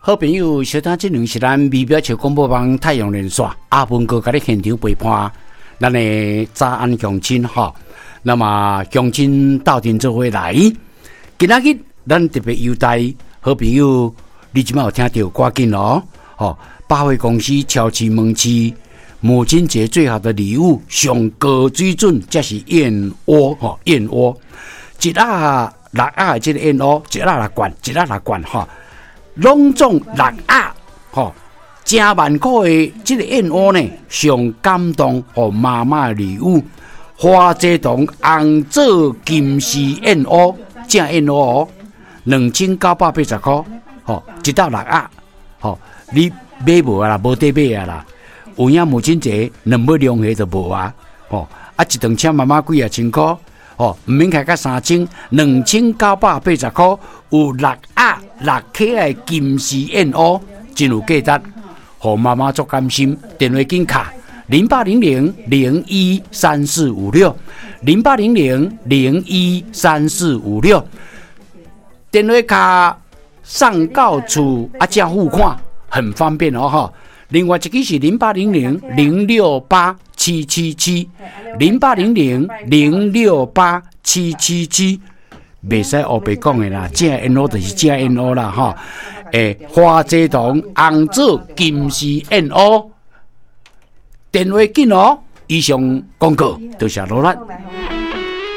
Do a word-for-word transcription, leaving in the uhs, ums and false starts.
好朋友，小等這兩是咱微表笑廣播網太陽連線阿文哥共你現場陪伴，咱的早安鄉親吼。那麼鄉親鬥陣做伙來，今仔日咱特別優待好朋友，你這擺有聽著趕緊哦，吼！百貨公司超市門市母親節最好的禮物，上高水準，這是燕窩吼，燕窩一盒六盒的這個燕窩，一盒六罐，一盒六罐吼。攏總六盒，吼，成萬箍的這個燕窩呢，上感動予媽媽的禮物，花這堂紅棗金絲燕窩，正燕窩哦，兩千九百八十箍，吼，一兜六盒，吼，你買無啊啦，無得買啊啦，有影母親節兩尾兩下就無啊，吼，啊一頓請媽媽幾仔千箍。哦，毋免開到三千，兩千九百八十箍，有六盒六克的金絲燕窩，真有價值，予媽媽足甘心。電話緊敲零八零零零一三四五六，零八零零零一三四五六，電話卡送到厝啊，才付款，很方便哦，吼。另外一支是零八零零零六八七七七，零八零零零六八七七七，袂使烏白講的啦，正燕窩就是正燕窩啦，吼。欸，花這堂紅棗金絲燕窩，電話緊哦。以上廣告，多謝努力。